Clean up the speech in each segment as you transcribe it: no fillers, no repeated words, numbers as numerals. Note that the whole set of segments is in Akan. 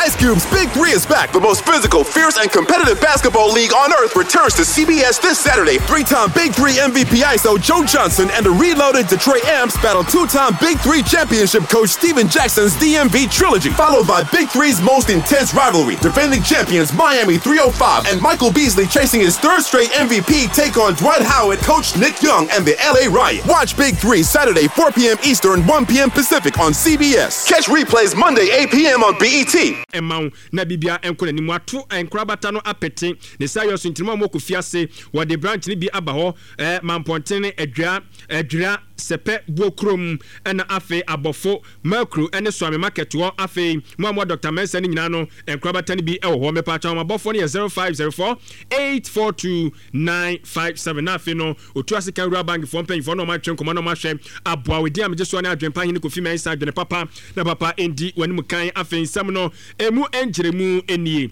Ice Cube's Big Three is back. The most physical, fierce, and competitive basketball league on earth returns to CBS this Saturday. Three time Big Three MVP ISO Joe Johnson and the reloaded Detroit Amps battle two time Big Three championship coach Steven Jackson's DMV trilogy, followed by Big Three's most intense rivalry. Defending champions Miami 305 and Michael Beasley chasing his third straight MVP take on Dwight Howard, coach Nick Young, and the LA Riot. Watch Big Three Saturday, 4 p.m. Eastern, 1 p.m. Pacific on CBS. Catch replays Monday, 8 p.m. on BET. Mma wo na biribiara nkɔ n'anim. Wɔato nkorabata no apete ne saayɔ so nti no ma wɔkɔ fie ase. Wɔde branch no bi aba hɔ, eh, Mampɔntene, Adwira, Adwira, Sɛpɛ, Buokurom, ɛna afei Abɔfo, Mercury ne Suame Market hɔ. Afei mo a mowɔ Doctor Mensah no nyinaa no, nkorabata no bi wɔ hɔ. Mepaakyɛw abɔfoɔ no yɛ 0504 842 957. Na afei no, Otu ase kan Rural Bank foɔ mpanyinfoɔ na wɔn atwe nkɔmɔ na wɔn ahwɛ aboa wo. Edin a megye soɔ ne Adwenpa Hene Kofi Mensah Adwene papa na papa ndi w'anim kan. Afei nsɛm no emu nkyerɛmu nie.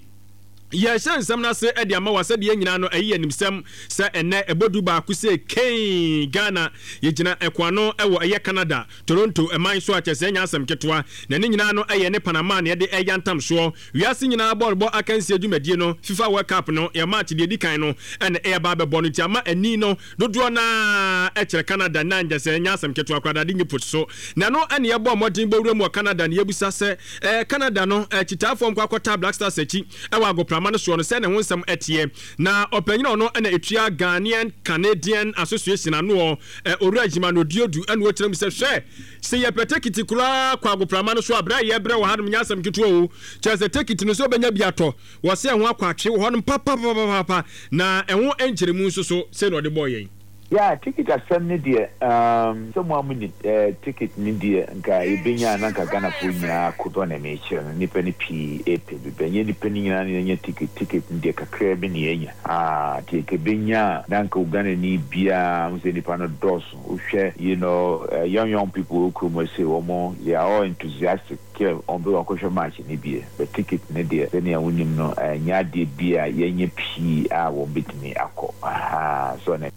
Yɛrehyɛ nsɛm no ase de ama wo a sɛdeɛ yɛn nyinaa no ɛyi yɛn animsɛm sɛ ɛnnɛ ɛbɔ du baako sei kei Ghana yɛgyina ɛko ano wɔ ɛyɛ Canada Toronto man so a kyerɛ sɛ ɛnyɛ asɛm ketewa na ne nyinaa no ɛyɛ ne Panama na yɛde ɛyantam soɔ Wiase nyinaa bɔɔlbɔ akansie dwumadie no, FIFA World Cup no, yɛ March deɛ ɛdi kan no na ɛreba abɛbɔ no nti ama ani no dodoɔ no ara kyerɛ Canada na nkyɛ sɛ ɛnyɛ asɛm ketewa koraa dade nyi po so. Na ɛno na yɛbɔɔ mmɔden bɔ wuram wɔ Canada na yɛbisa sɛ eh, Canada no eh, kyitaafoɔ nkɔ akɔtaa Black Stars akyi wɔ agoprama no soɔ no sɛ ne ho nsɛm teɛ. Na ɔpanyin a ɔno na ɛtua Ghanaian Canadian Association anoɔ eh, Owura Jimano Diodu na ɔkyerɛ mu sɛ hwɛ Se yɛpɛ tekiti koraa kɔ agoprama no so a, berɛ a yɛbrɛ wɔ hanom nyɛ asɛm ketewa o. Kyerɛ sɛ tekiti no sɛ wobɛnya bi atɔ, wɔse ɛho akɔ atwe wɔ hɔnom papapapapa, na ɛho nkyerɛmu nso so, sei na ɔde bɔɔ yɛn. Yeah, ticket asɛm no deɛ umm sɛ mo a mo nim eh, ticket no deɛ nka yɛbɛnya a na nka Ghanafoɔ nyinaa kodɔ na mekyerɛ no, nnipa no pii ɛpɛ bi but ɛnyɛ nnipa no nyinaa na yɛnya ticket, ticket no deɛ kakraa bi na yɛanya ah, nti nka ɛbɛnya a na nka Ghanani biara, wohu sɛ nnipa no dɔɔso. Wohwɛ you know young young people wɔ kurom ha sei wɔn they are all enthusiastic kɛ wɔn bɛ akɔhwɛ match no bie but ticket no deɛ sɛnea wonim no ɛnyɛ adeɛ bi a yɛnyɛ pii a wɔn bɛtumi akɔ ahaa so na.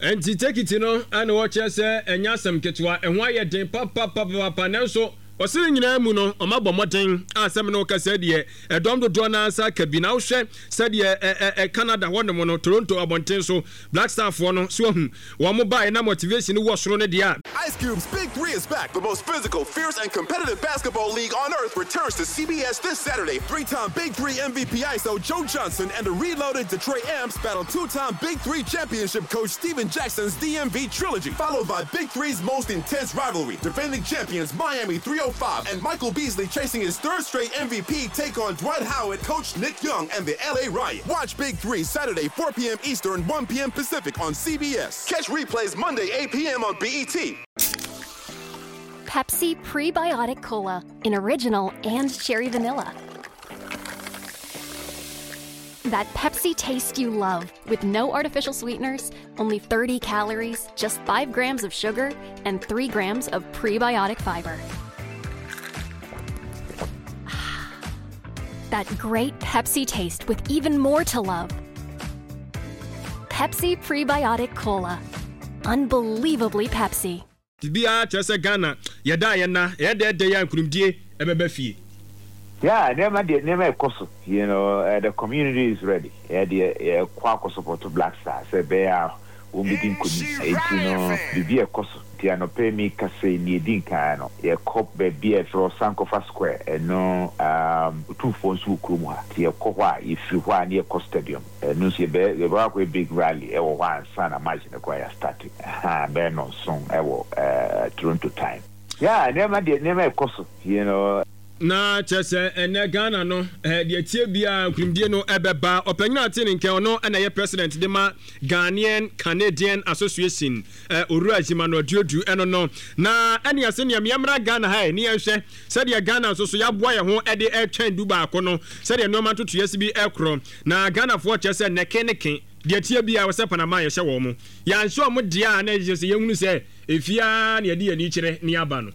Ɛnti tekiti no na wɔkyerɛ sɛ ɛnyɛ asɛm ketewa, ɛho ayɛ den papapapapa nanso ɔse ne nyinaa mu no wɔabɔ mmɔden a sɛ me ne wo kasa yi deɛ ɛdɔm dodoɔ no ara nsa aka bi na wohwɛ sɛdeɛ ɛ ɛ Canada hɔnom no Toronto abɔnten so Black Star foɔ no so wahu wɔn baeɛ na motivation no wɔ soro no deɛ a. Ice Cube's Big Three is back. The most physical, fierce, and competitive basketball league on earth returns to CBS this Saturday. Three time Big Three MVP ISO Joe Johnson and the reloaded Detroit Amps battle two time Big Three championship coach Steven Jackson's DMV trilogy, followed by Big Three's most intense rivalry. Defending champions Miami 305 and Michael Beasley chasing his third straight MVP take on Dwight Howard, coach Nick Young, and the LA Riot. Watch Big Three Saturday, 4 p.m. Eastern, 1 p.m. Pacific on CBS. Catch replays Monday, 8 p.m. on BET. Pepsi Prebiotic Cola in original and cherry vanilla. That Pepsi taste you love with no artificial sweeteners, only 30 calories, just 5 grams of sugar, and 3 grams of prebiotic fiber. That great Pepsi taste with even more to love. Pepsi Prebiotic Cola. Unbelievably Pepsi. Biribiara kyerɛ sɛ Ghana yɛda a yɛnna, ɛyɛ dɛ dɛ yi a nkunimdie ɛbɛba fie. Yeah nneɛma deɛ nneɛma ɛkɔ so you know eh, the community is ready yɛ deɛ yɛkɔ akɔ support Black Star sɛ ɛbɛyɛ a wɔn bɛdi nkonim enti no biribi ɛkɔ so nti anɔpa yi mi kasa yi nea edi nkan no yɛkɔ baabi a yɛfrɛ hɔ Sankofa Square ɛno um, Otumfoɔ nso wɔ kurom ha nti yɛkɔ hɔ a yɛfiri hɔ a ne yɛkɔ stadium Ɛno nso yɛbɛ yɛbɛkɔ akɔyɛ big rally ɛwɔ hɔ ansa na match no koraa yɛ start ahaa bɛyɛ nɔnson ɛwɔ ɛɛ Toronto time. Yeah nneɛma deɛ nneɛma ɛkɔ so you know. Na kyerɛ sɛ ɛnɛ Ghana no eh, deɛ ɛteɛ biara nkunimdie no ɛbɛba. Ɔpanyin a ɔte ne nkyɛn ɔno na ɛyɛ president de ma Ghanaian Canadian Association eh, Owura Zimano Aduodu ɛno no. Na ɛne ase nea yɛmmra Ghana ha ɛ ne yɛnhwɛ sɛdeɛ Ghana nso so yɛaboa yɛn ho ɛde ɛretwɛn du baako no sɛdeɛ nneɛma ntotoeɛ si bi ɛkorɔ. Na Ghanafoɔ kyerɛ sɛ nɛke ne ke, deɛ ɛteɛ biara wɔ sɛ Panama yɛhyɛ wɔn. Yɛanhyɛ wɔn deɛ a na ɛkyerɛ sɛ yɛhunu sɛ efie ara na yɛde yɛn ani kyerɛ ne aba no.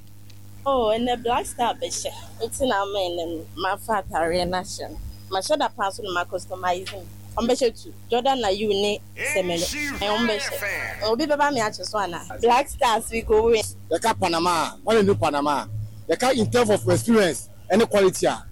Oh ɛnɛ black star bɛhyɛ nti na ama ɛnɛ no mafa ataareɛ no ahyɛ no. Mahyɛ da paa nso na ma customize mu. Ɔmo bɛhyɛ tu. Jordan Ayew ne Semenyo ɔmo bɛhyɛ. Obi bɛba me akye so anaa? Black stars we go win. Yɛka Panama a, hwan na nim Panama? Yɛka in terms of experience ne quality a.